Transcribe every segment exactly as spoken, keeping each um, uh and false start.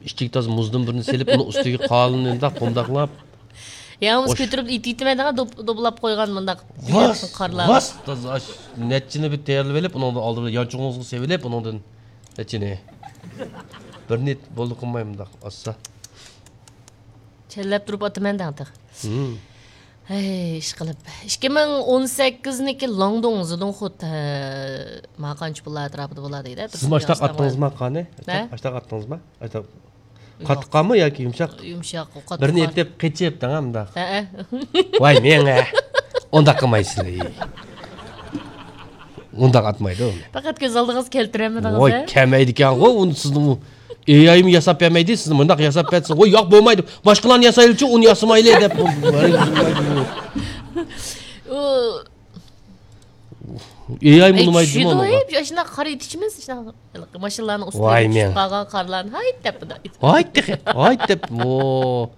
ئىچىگە تازا مۇزدىن بىرنى سېلىپ، ئۇنىڭ ئۈستىگە قالىنىنداق قۇمداقلاپ. يالىڭىز كۆتۈرۈپ ئېتىۋېتىمەن دېگەن، دوپ-، دوپلاپ قويغان مۇنداق. ۋاس، قارلار. ۋاس، تازا ئاش-، نەچچىنى بىر تەييارلىۋېلىپ، ئۇنىڭدىن ئالدى بىلەن يانچۇقىڭىزغا سېلىۋېلىپ، ئۇنىڭدىن نەچچىنى. بىر نىيەت بولدى قىلماي مۇنداق ئاسسا. چەنلەپ تۇرۇپ ئاتىمەن دەڭ تېخى. ھىم. ھەي، ئىشقىلىپ. ئىككى مىڭ ئون سەككىزنىڭكى لاڭدۇڭ زىدۇڭخۇت، ھە، ما قانچە پۇللار ئەتراپىدا بولار دەيدۇ. سىزمۇ ئاشتاق ئاتتىڭىزما، قانى؟ نە؟ ئاشتاق ئاتتىڭىزما؟ ئاشتاق. قاتتىق قانمۇ ياكى يۇمشاق؟ يۇمشاق، قاتتىق. بىرنى ئېتىپ قېچىپ دەڭ ئۇنداق. ھەئە. ۋاي مېڭە. ئۇنداق قىلمايسىز. ئۇنداق ئاتمايدۇ. پەقەت كۆز ئالدىڭىزغا كەلتۈرەلمىدىڭىز، ۋاي، ھە؟ كەلمەيدىكەنغۇ، ئۇنى سىزنىڭ ئېي ئايمۇ ياساپ بەرمەيدۇ، سىزنى مۇنداق ياساپ بەرسە، ۋاي، ياق، بولمايدۇ، باشقىلارنى ياسايلىچۇ، ئۇنى ياسىمايلى دەپ. ئۇ ئېي ئاي ئەي، مۇنىمايدۇ، چۈشىدۇ، ئۇنىڭغا. ئەي، شۇنداق قارا ئېتىشىمىز، شۇنداق ماشىنىلارنىڭ ئۈستىگە ۋاي چۈشۈپ مېڭە. قالغان قارلارنى، ھايت دەپ. ھايت تېخى، ھايت دەپ. ۋو.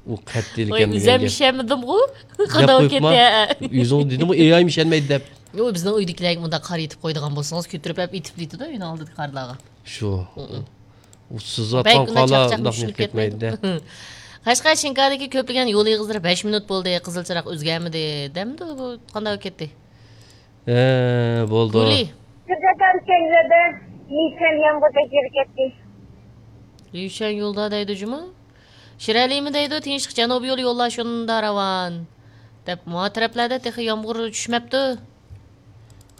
ئۇ قەتئىيلىكەن ۋاي، ئۆزۈم ئىشەنمىدىمغۇ. قانداق كەتتى، ھە. ئۆزۈڭ دېدىڭغۇ، ئېي ئايمۇ ئىشەنمەيدۇ دەپ. يو، بىزنىڭ ئۆيدىكىلەرگە مۇنداق قارا ئېتىپ قويىدىغان بولسىڭىز، كۆتۈرۈپ ئەپ ئېتىپ دېيدۇ-دە، ئۆينىڭ ئالدىدىكى قارلارغا. شۇ. ئۇ سىزىۋاتقان قارلار چاقچاق ئۇنداق چۈشىنىپ كەتمەيدۇ-دە. قەشقەر شىنكادىكى كۆپلىگەن يول ئېغىزلىرى بەش مىنۇت بولدى، قىزىل چىراغ ئۆزگەرمىدى دەمدۇ، بۇ قانداق كەتتى؟ ھە، بولدى. گۈلى. سىزەكەن كەينىدە نىشان يامغۇردەك يېرى كەتتى. ليۇشەن يولدا دەيدۇ جۇمۇ. شىرئەلىمۇ دەيدۇ، تىنچلىق جەنۇبىي يولى يوللار شۇندا راۋان. دەپ، ما تەرەپلەردە تېخى يامغۇر چۈشمەپتۇ.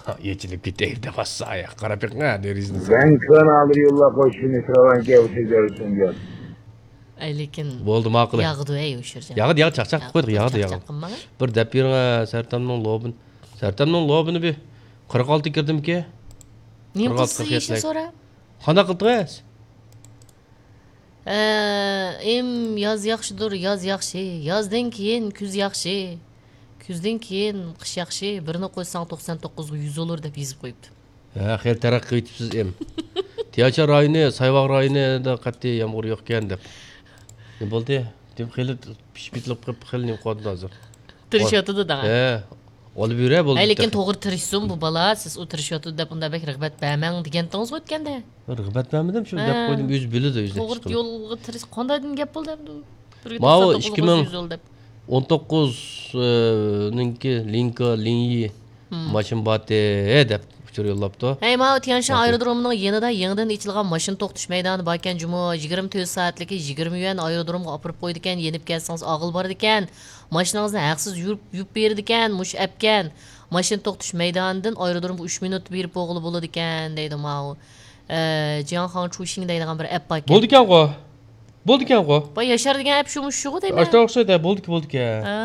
ھا، يېچىلىپ كېتەي دەپ ئاسسا ئاياق قاراپ بېقىڭ، ھە، دېرىزىنى. بەنكان ئالدى يوللار قوشۇنى راۋان كەۋسىزەر سۈنگەن. ئەي، لېكىن بولدى، ماقۇل. ياغىدۇ، ئەي، ئۇ شىرجان. ياغىدۇ، ياغىدۇ، چاقچاق قىلىپ قويدۇق، ياغىدۇ، ياغىدۇ. قىلماڭ. بىر دەپ بېرىڭ، ھە، سەرتەمنىڭ لوبىنى. سەرتەمنىڭ لوبىنى بىر قىرىق ئالتە كىردىمكى؟ نېمە قىلسىز، يېشىنى سورا. قانداق قىلدىڭىز؟ ئە، ئىم، ياز ياخشىدۇر، ياز ياخشى. يازدىن كېيىن كۈز ياخشى. كۈزدىن كېيىن قىش ياخشى. بىرنى قوشساڭ توقسان توققۇزغا يۈز بولۇر دەپ يېزىپ قويۇپتۇ. ھە، خېلى تەرەققىي قىلىۋېتىپسىز، ئىم. تيەنشان رايونى، سايۋاغ رايونىدا قەتئىي يامغۇر يوقكەن دەپ. نېمە بولدى؟ دېمەك خېلى پىشىپ كېتىپ قېلىپ، خېلى نېمە قىلىۋاتىدۇ ھازىر؟ تىرىشىۋاتىدۇ دەڭ. ھە. ئولىۋېرە بولدى. ھەي، لېكىن تېخى. توغرا تىرىشسۇن بۇ بالا، سىز ئۇ تىرىشىۋاتىدۇ دەپ ئۇنداق بەك رىغبەت بەرمەڭ دېگەنتىڭىزغۇ ئۆتكەندە. رىغبەت بەرمىدىم، شۇ دەپ ھە. قويدۇم، ئۆزى بىلىدۇ، ئۆزى. توغرا يولغا تىرىش، قانداقتىن گەپ بولدى ئەمدى؟ بىرگە توقسان توققۇز يۈز يول دەپ. ئون توققۇز، ئە، نىڭكى لىنكا، لىنيى ھىم. ماشىنا باتى دەپ ئۇچۇر يوللاپتۇ. ھەي، ماۋۇ تيەنشان ئايرودرومىنىڭ يېنىدا يېڭىدىن ئېچىلغان ماشىنا توختىتىش مەيدانى باركەن جۇمۇ، يىگىرمە تۆت سائەتلىكى يىگىرمە يۈەن ئايرودرومغا ئاپىرىپ قويىدىكەن، يېنىپ كەتسىڭىز ئاغىل بارىدىكەن. ماشىنىڭىزنى ھەقسىز يۇيۇپ، يۇيۇپ بېرىدىكەن، مۇشۇ ئەپكەن. ماشىنا توختىتىش مەيدانىدىن ئايرودرومغا ئۈچ مىنۇتتا بېرىپ بولغىلى بولىدىكەن، دەيدۇ ماۋۇ. ئە، جياڭخاڭ چۇشىڭ دەيدىغان بىر ئەپ باركەن. بولىدىكەنغۇ. بولىدىكەنغۇ. باي ياشار دېگەن ئەپ شۇمۇ شۇغۇ دەيمەن. ئاشۇنداق ئوخشايدۇ، بولىدىكەن، بولىدىكەن. ھە.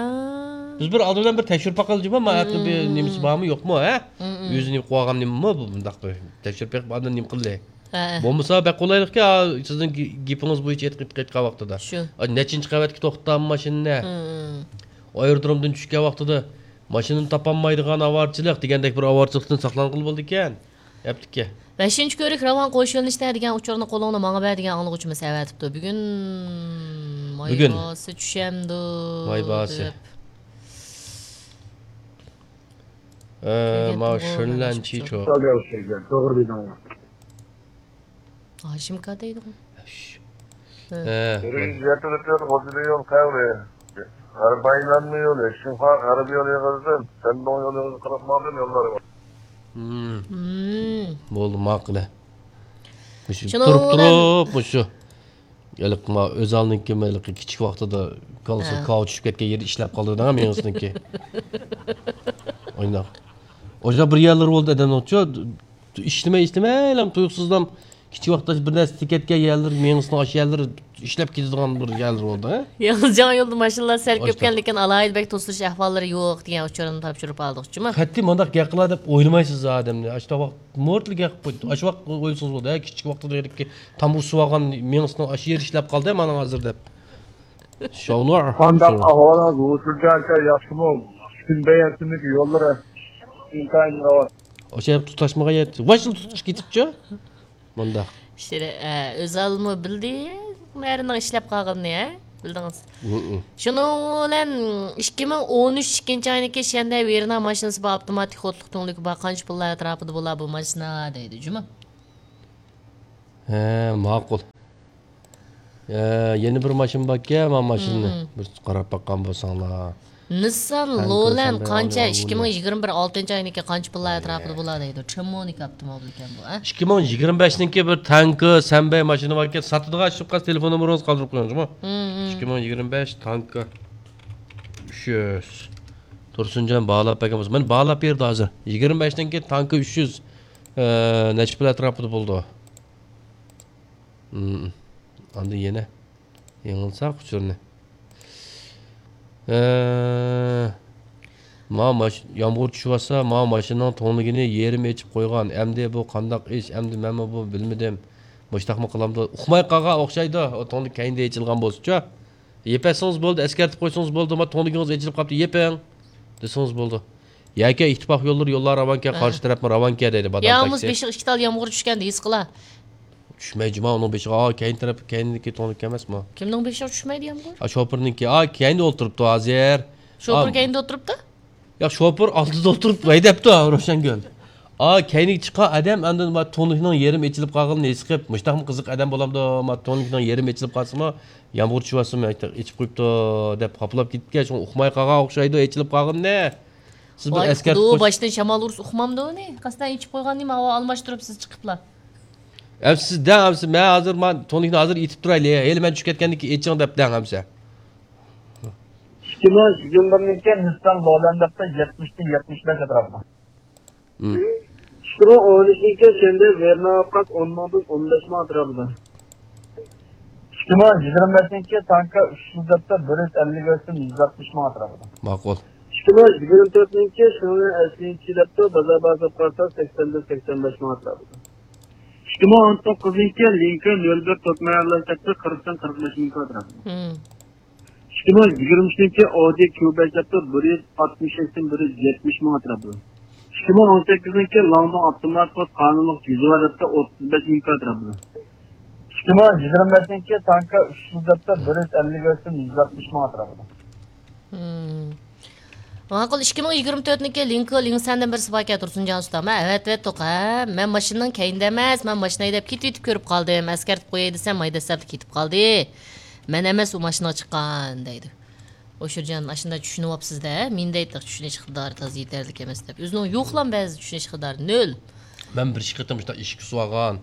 بىز بىر ئالدى بىلەن بىر تەكشۈرۈپ باقايلى جۇمۇ، ما ئەپنىڭ بىر نېمىسى بارمۇ، يوقمۇ، ھە؟ ئۆزى نېمە قىلىۋالغان نېمىمۇ بۇ، بۇنداق بىر تەكشۈرۈپ بېقىپ ئاندىن نېمە قىلدى؟ ھە. بولمىسا بەك قولايلىقكەن، سىزنىڭ گېپىڭىز بويىچە ئېيتقان ۋاقتىدا. شۇ. نەچچىنچى قەۋەتكە توختىتامدۇ ماشىنىنى؟ ئايرودرومدىن چۈشكەن ۋاقتىدا ماشىنىنى تاپالمايدىغان ئاۋارىچىلىق دېگەندەك بىر ئاۋارىچىلىقتىن ساقلانغىلى بولىدىكەن. ئەپتىكى. بەشىنچى كۆۋرۈك راۋان قوش يۆنىلىشتە دېگەن ئۇچۇرنى قولۇڭدا ماڭا بەر دېگەن ئاڭلىغۇچىمىز ئەۋەتىپتۇ. بۈگۈن بۈگۈن. ماي باسى چۈشەمدۇ؟ ماي باسى. دەپ. ئە، ماۋۇ شۆنلەن چىچو. توغرا دېدىڭ. ھاشىمكا دەيدىغۇ. ھە. بىرىنچى يەتتە لىتىر غوزىلىيون قەھۋە. غەربىي ئايلانما يولى، شىنخۇا غەربىي يولى ئېغىزىدىن، شەندۇڭ يولى ئېغىزى قىرىق مىڭدىن يوللار بار. مم. مم. بولدى، ماقۇل. مۇشۇ شۇنىڭ تۇرۇپ بىلەن تۇرۇپ، مۇشۇ ھېلىقى ما ئۆزالنىڭكى ھېلىقى كىچىك ۋاقتىدا كاللىسىغا ھە. كاۋا چۈشۈپ كەتكەن يېرى ئىشلەپ قالدى دەڭ مېڭىسىنىڭكى. ئايناق. ئوشۇنداق بىر يەرلىرى بولدى ئادەمنىڭچۇ، ئىشلىمەي، ئىشلىمەيلا تۇيۇقسىزلا كىچىك ۋاقىتتا بىر نەرسە تېگىپ كەتكەن يەرلىرى، مېڭىسىنىڭ ئاشۇ يەرلىرى ئىشلەپ كېتىدىغان بىر يەرلىرى بولدى، ھە؟ يېڭىجاڭ يولدا ماشىنىلار سەل ئاشۇنداق. كۆپكەن، لېكىن ئالاھىدە بەك توسۇلۇش ئەھۋاللىرى يوق دېگەن ئۇچۇرنى تاپشۇرۇپ ئالدۇق جۇمۇ. قەتئىي مانداق گەپ قىلا دەپ ئويلىمايسىز ئادەمنى. ئاشۇنداق ۋاقىت مورتلا گەپ قىلىپ قويدى. ئاشۇ ۋاقىت ئويلىسىڭىز بولدى، ھە، كىچىك ۋاقتىدا يەرلىككە تامغا سۇۋالغان مېڭىسىنىڭ ئاشۇ يېرى ئىشلەپ قالدى، مانا ھازىر دەپ. شاۋنۇر. قانداق ئەھۋالىڭىز، ھۇسۇرجان ئاكا، ياخشىمۇ؟ پۈتۈن بەيەنسىمىز يوللىرى ئىنتايىن راۋان. ئاشۇ يەردە تۇتاشمىغان يەر، ۋاي، شۇ تۇتۇش كېتىپچۇ؟ مۇنداق. ئىشلىرى، ئە، ئۆزالمۇ بىلدى، ئەرنىڭ ئىشلەپ قالغىنىنى، ھە؟ بىلدىڭىز. ھىم. شۇنىڭ بىلەن ئىككى مىڭ ئون ئۈچ ئىككىنچى ئاينىڭكى شەندە ۋېرنا ماشىنىسى بار، ئاپتوماتىك قوتلۇق تۈڭلۈكى بار، قانچە پۇللار ئەتراپىدا بولا بۇ ماشىنا دەيدۇ جۇمۇ. ھە، ماقۇل. ئە، يەنە بىر ماشىنا باركەن، مانا ماشىنىنى بىر قاراپ باققان بولساڭلار. نىسسان لولەن قانچە؟ ئىككى مىڭ يىگىرمە بىر ئالتىنچى ئاينىڭكى قانچە پۇللار ئەتراپىدا بولار دەيدۇ. چېمونىك ئاپتوموبىل ئىكەن بۇ، ئە؟ ئىككى مىڭ يىگىرمە بەشنىڭكى بىر تانكا، سەنبەي ماشىنا باركەن، ساتىدىغان ئىش چىققاچ تېلېفون نومۇرىڭىزنى قالدۇرۇپ قويۇڭ، جۇمۇ. ئىككى مىڭ يىگىرمە بەش تانكا ئۈچ يۈز. تۇرسۇنجان باھالاپ بەرگەن بولسا، مانا باھالاپ بەردى ھازىر. يىگىرمە بەشنىڭكى تانكا ئۈچ يۈز، ئە، نەچچە پۇل ئەتراپىدا بولىدۇ؟ ئاندىن يەنە يېڭىلساق ئۇچۇرنى. ئە، ما ماش-، يامغۇر چۈشۈۋاتسا، ما ماشىنىنىڭ تۈڭلۈكىنى يېرىم ئېچىپ قويغان. ئەمدى بۇ قانداق ئىش؟ ئەمدى مەنمۇ بۇ بىلمىدىم. مۇشتاقمۇ قىلامدۇ؟ ئۇقماي قالغان ئوخشايدۇ. ئۇ تۈڭلۈك كەينىدە ئېچىلغان بولسىچۇ. يېپەتسىڭىز بولدى، ئەسكەرتىپ قويسىڭىز بولدى، ما تۈڭلۈكىڭىز ئېچىلىپ قاپتۇ، يېپىڭ دېسىڭىز بولدى. ياكى ئىتتىپاق يوللىرى يوللار راۋانكەن، ھە. قارشى تەرەپمۇ راۋانكەن دەيدۇ، بادام يا تاكسى. بېشىغا ئىككى تال يامغۇر چۈشكەندە ھېس قىلا. چۈشمەي جۇما ئۇنىڭ بېشىغا، ئا، كەينى تەرەپ، كەينىدىكى تۈڭلۈك ئەمەسمۇ؟ كىمنىڭ بېشىغا چۈشمەيدۇ يامغۇر؟ ئا، شوپۇرنىڭكى، ئا، كەينىدە ئولتۇرۇپتۇ ھازىر. شوپۇر ئا، كەينىدە ئولتۇرۇپتۇ؟ ياق، شوپۇر ئالدىدا ئولتۇرۇپ ھەيدەپتۇ، روشەنگۈل. ئا، كەينىگە چىققان ئادەم ئاندىن ما تۈڭلۈكنىڭ يېرىم ئېچىلىپ قالغىنىنى ھېس قىلىپ، مۇشتاقمۇ قىزىق ئادەم بولامدۇ، ما تۈڭلۈكنىڭ يېرىم ئېچىلىپ قالسىمۇ، يامغۇر چۈشۈۋاتسىمۇ، ئېچىپ قويۇپتۇ دەپ خاپىلاپ كېتىپكەن، شۇڭا ئۇقماي قالغان ئوخشايدۇ ئېچىلىپ قالغىنىنى. سىز بىر ئۋاي، ئەسكەرتىپ قويسىڭىز. باشتىن شامال ئۇرسا ئۇقمامدۇ ئۇنى؟ قەستەن ئېچىپ قويغان نېمە، ھاۋا ئالماشتۇرۇپسىز چىقىپلا. ئەمسە سىز دەڭ، ئەمسە مەن ھازىر، مانا تۈڭلۈكنى ھازىر ئېتىپ تۇرايلى، ھېلى مەن چۈشۈپ كەتكەندىن كېيىن ئېچىڭ دەپ دەڭ ئەمسە. ئىككى مىڭ يىگىرمە بىرنىڭكى نىسسان لولەندەپتە يەتمىشتىن يەتمىش بەش ئەتراپىدا. مم. ئىككى مىڭ ئون ئۈچنىڭكى شەنبە ۋېرنا ئوقاس ئون مىڭدىن ئون بەش مىڭ ئەتراپىدا. ئىككى مىڭ يىگىرمە بەشنىڭكى تانكا ئۈچ يۈز دەپتە بىر يۈز ئەللىك يۈز يۈز ئاتمىش مىڭ ئەتراپىدا. ماقۇل. ئىككى مىڭ يىگىرمە تۆتنىڭكى شىڭلى ئەسلىنچى دەپتە بازار باھاسى قارىسا سەكسەندىن سەكسەن بەش مىڭ ئەتراپىدا. ئىككى مىڭ ئون توققۇزنىڭكى لىنكولن نۆل بىر تۆت مىڭ دەپتە قىرىقتىن قىرىق بەش مىڭ ئەتراپىدا. مم. ئىككى مىڭ يىگىرمە ئۈچنىڭكى ئودى كيۇ بەش دەپتۇ بىر يۈز ئاتمىش سەكسەن بىر يۈز يەتمىش مىڭ ئەتراپىدا. ئىككى مىڭ ئون سەككىزنىڭكى لانگدۇڭ ئاپتومات قانۇنلۇق جۈزى بار دەپتۇ ئوتتۇز بەش مىڭ ئەتراپىدا. ئىككى مىڭ يىگىرمە بەشنىڭكى تانكا ئۈچ يۈز دەپتۇ بىر يۈز ئەللىك يۈز يۈز ئاتمىش مىڭ ئەتراپىدا. مم. ماقۇل، ئىككى مىڭ يىگىرمە تۆتنىڭكى لىنكولن لىڭسەندىن بىرسى باركەن، تۇرسۇنجان ئۇستام. ھە، ئەۋەتىۋەتتۇق، ھە. مەن ماشىنىنىڭ كەينىدە ئەمەس، مەن ماشىنا ھەيدەپ كېتىۋېتىپ كۆرۈپ قالدىم. ئەسكەرتىپ قوياي دېسەم، ھەيدەپ كېتىپ قالدى. مەن ئەمەس ئۇ ماشىنىغا چىققان دەيدۇ. ئوشۇرجان، ئاشۇنداق چۈشىنىۋاپسىز-دە، مېنى دەيتتى، چۈشىنىش ئىقتىدارى تازا يېتەرلىك ئەمەس دەپ. ئۆزىنىڭ يوقلا بەزى چۈشىنىش ئىقتىدارى نۆل. مەن بىر ئىككى قېتىم شۇنداق ئىشىك سۇۋالغان.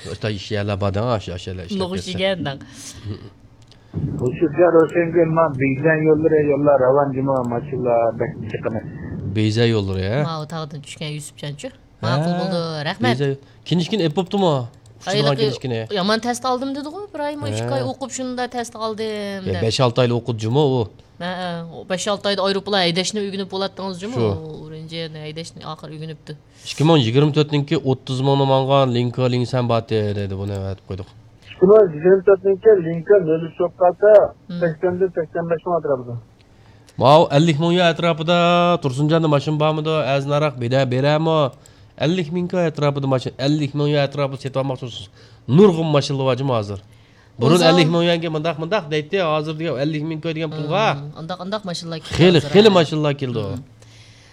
شۇنداق ئىش يەرلەر بار دەڭ، ئاشۇ، ئاشۇ يەرلەر ئىشلەپ نوغۇش كەتسە. يېگەن دەڭ. ئوشۇرجان، روشەنگۈل، مانا بېيجىڭ يوللىرى، يوللار راۋان جۇمۇ، ماشىنىلار بەك جىق ئەمەس. بېيجىڭ يوللىرى، ھە؟ ماۋۇ تاغدىن چۈشكەن يۈسۈپجانچۇ. ماقۇل ھە، بولدى، رەھمەت. بېيجىڭ. كىنىشكىنى ئېلىپ بوپتۇمۇ؟ ئۇچىدىغان ھېلىقى كىنىشكىنى. يامان تەستە ئالدىم دېدىغۇ، بىر ئايمۇ، ھە. ئىككى ئاي ئوقۇپ شۇنداق تەستە ئالدىم يا، دەپ. بەش-ئالتە ئايلا ئوقۇدى جۇمۇ ئۇ. ھە، ھە. بەش-ئالتە ئايدا ئايروپىلان ھەيدەشنى ئۆگىنىپ بولاتتىڭىز جۇمۇ. شۇ. ئۇ ئۇرۇنچىنى ھەيدەشنى ئاخىر ئۆگىنىپتۇ. ئىككى مىڭ يىگىرمە تۆتنىڭكى ئوتتۇز مىڭنى ماڭغان لىنكا لىڭسەن باتى دەيدۇ، بۇنى ئەۋەتىپ قويدۇق. ئىككى مىڭ يىگىرمە تۆتنىڭكى لىنكا نۆل ئۈچ بولۇپ قالسا، مم. سەكسەندىن سەكسەن بەش مىڭ ئەتراپىدا. ماۋۇ ئەللىك مىڭ يۈەن ئەتراپىدا تۇرسۇنجاندا ماشىنا بارمىدۇ؟ ئەزىنراق بىدە بېرەمۇ؟ ئەللىك مىڭ يۈەن ئەتراپىدا ماشىنا، ئەللىك مىڭ يۈەن ئەتراپىدا سېتىۋالماقچى بولسىڭىز، نۇرغۇن ماشىنىلار بار جۇمۇ ھازىر. بۇرۇن ئەللىك مىڭ يۈەنگە مۇنداق، مۇنداق دەيتتى، ھازىر دېگەن ئەللىك مىڭ دېگەن پۇلغا. مم، ئانداق، ئانداق ماشىنىلار كېلىدۇ خېلى، ھازىر، خېلى ھە. ماشىنىلار كېلىدۇ. مم.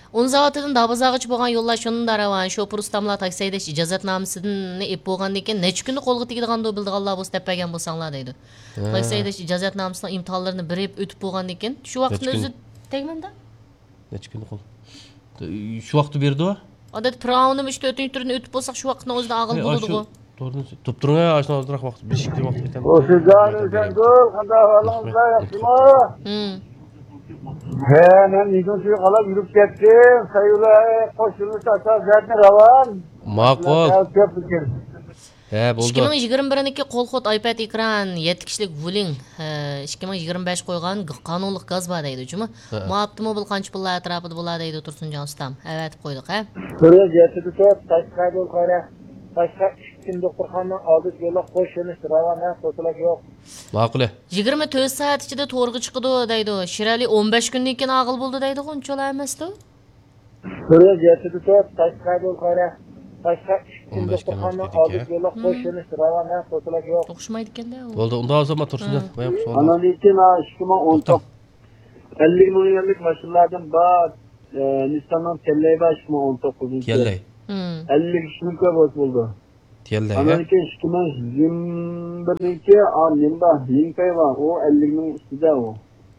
ئون زاۋۇتىدىن دابازاغىچە بولغان يوللار شۇنداق راۋان. شوپۇر ئۇستاملار تاكسى ھەيدەش ئىجازەتنامىسىنى ئېلىپ بولغاندىن كېيىن نەچچە كۈندە قولغا تېگىدىغاندۇ بىلىدىغانلار بولسا دەپ بەرگەن بولساڭلار دەيدۇ. ھە. تاكسى ھەيدەش ئىجازەتنامىسىنىڭ ئىمتىھانلىرىنى بېرىپ ئۆتۈپ بولغاندىن كېيىن شۇ ۋاقىتنى نەچچە كۈن؟ ئۆزى تەگمەمدۇ؟ نەچچە كۈندە قول؟ شۇ ۋاقىتتا بېرىدۇ؟ ئادەتتە پىراۋۇنىمۇ ئۈچ تۆتىنچى تۈرنى ئۆتۈپ بولساق شۇ ۋاقىتنىڭ ئۆزىدە ئاغىل بولىدىغۇ. توردىن تۇرۇپ تۇرۇڭ، ئاشۇنداق ئازراق ۋاقىت، بىر ئىككى ۋاقىت كېتەم. ئوشۇرجان، روشەنگۈل، قانداق ئەھۋالىڭىزلار، ياخشىمۇ؟ ھە، مەن ئىگىنچىگە قالاپ يۈرۈپ كەتتىم. سەيۋىلە قوشۇلۇش ئاساس زەتنى راۋان. ماقۇل. ھە، بولدى. ئىككى مىڭ يىگىرمە بىرنىڭكى قول خوت ئايپەد ئېكران، يەتتە كىشىلىك ۋۇلىڭ، ھە، ئىككى مىڭ يىگىرمە بەش قويغان قانۇنلۇق گاز بار دەيدۇ جۇمۇ. ھە. ما ئاپتوموبىل قانچە پۇللار ئەتراپىدا بولا دەيدۇ تۇرسۇنجان ئۇستام. ئەۋەتىپ قويدۇق، ھە؟ بىر يۈز يەتتە تۆت، تاشقى دوختۇرخانا، تاشقى ئىككى كۈن دوختۇرخانا ئالدىدا يوللۇق قوش يۆنىلىش راۋان، ھە، توسۇلۇش يوق. ماقۇل. يىگىرمە تۆت سائەت ئىچىدە تورغا چىقىدۇ دەيدۇ. شىرئەلى ئون بەش كۈندىن كېيىن ئاغىل بولدى دەيدىغۇ، ئۇنچىلا ئەمەستۇ. بىر يۈز يەتتە تۆت، تاشقى دوختۇرخانا، تاشقى ئىككى كۈن دوختۇرخانا ئالدىدا يوللۇق قوش يۆنىلىش راۋان، ھە، توسۇلۇش يوق. توقۇشمايدىكەن-دە ئۇ. بولدى، ئۇنداق بولسا، ما تۇرسۇن. ھە. ئاندىن كېيىن، ھە، ئىككى مىڭ ئون توققۇز. ئەللىك مىڭ يۈەنلىك ماشىنىلاردىن بار، ئە، نىسساننىڭ كەللەي بار، ئىككى مىڭ ئون توققۇزىنچى يىل. كەللەي. مم. ئەللىك ئۈچ مىڭ كوي بولسا بولىدۇ. كەلدى، ھە؟ ئانىڭدىن كېيىن ئىككى مىڭ يىگىرمە بىرنىڭكى، ئا، نېمە بار، لىڭپەي بار. ئۇ ئەللىكنىڭ ئۈستىدە ئۇ.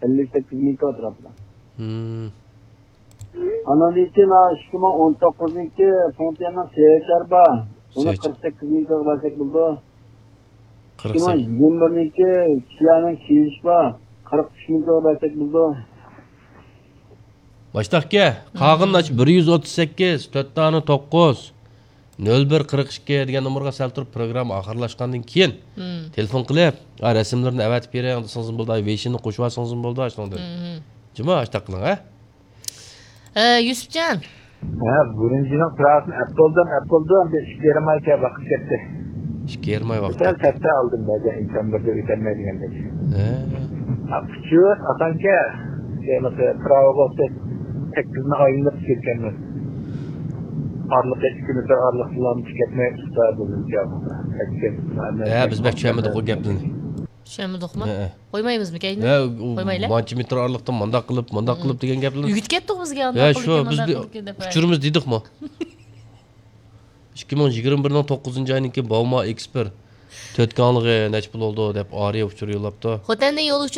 ئەللىك سەككىز مىڭ ئەتراپىدا. ھىم. ئانىڭدىن كېيىن، ھا، ئىككى مىڭ ئون توققۇزنىڭكى فېڭتيەننىڭ سېچەر بار. ئۇنى سېچ- قىرىق سەككىز مىڭ بار دەپ بولىدۇ. قىرىق سەككىز. ئىككى مىڭ يىگىرمە بىرنىڭكى كىيانىڭ كىيىش بار. قىرىق ئۈچ مىڭ بار دەپ بولىدۇ. باشتاق ئاكا، قالغىنىنى ئاچ، بىر يۈز ئوتتۇز سەككىز، تۆت دانە توققۇز، نۆل بىر قىرىق ئىككى دېگەن نومۇرغا سەل تۇرۇپ، پروگرامما ئاخىرلاشقاندىن كېيىن تېلېفون قىلىپ، «ئا، رەسىملىرىنى ئەۋەتىپ بېرىڭ» دېسىڭىزمۇ بولىدۇ، ۋېيشىننى قوشۇۋالسىڭىزمۇ بولىدۇ، شۇنىڭدىن. جۇمۇ، ئاشتاق قىلىڭ، ھە؟ ئە، يۈسۈپجان. ھە، بۇرۇنجىنىڭ پىراسىنى ئەپ بولدۇم، ئەپ بولدۇم. بىر ئىككى يېرىم ئاي كە-، ۋاقىت كەتتى. ئىككى يېرىم ئاي ۋاقىت سەل كەتتى. سەتتە ئالدىم بەزەن ئىنسان بىردە ئۆتەلمەيدىغاندەك. ھە. ھە، ئۇچۇر ئاسانكەن. دېمىسە، پىراۋا بولسا سەككىزنى ئايلىنىپ كەتكەنمىز. ئارىلىقى ئىككى مېتىر ئارىلىقتىلا كەتمەي ئۇستا بولدۇم. ھە، بىز بەك چۈشەنمىدۇق ئۇ گەپلىرىنى. چۈشەنمىدۇقمۇ؟ ھەئە. قويمايمىزمۇ كەينى؟ ھە، ئۇ قويمايلى. مانچە مېتىر ئارىلىقتىن مانداق قىلىپ، مانداق قىلىپ دېگەن گەپلەرنى. ئۆگىتىپ كەتتۇق بىزگە ئانداق ھە، قىلىدىكەن، شۇ، بىز مانداق قىلىدىكەن دەپ. ئۇچۇرىمىز دېدۇقمۇ؟ ئىككى مىڭ يىگىرمە بىرنىڭ توققۇزىنچى ئاينىڭكى باۋما ئېكسپىر تۆت كاڭلىقى نەچچە پۇل بولدى دەپ ئارىيە ئۇچۇر يوللاپتۇ. خوتەندىن يول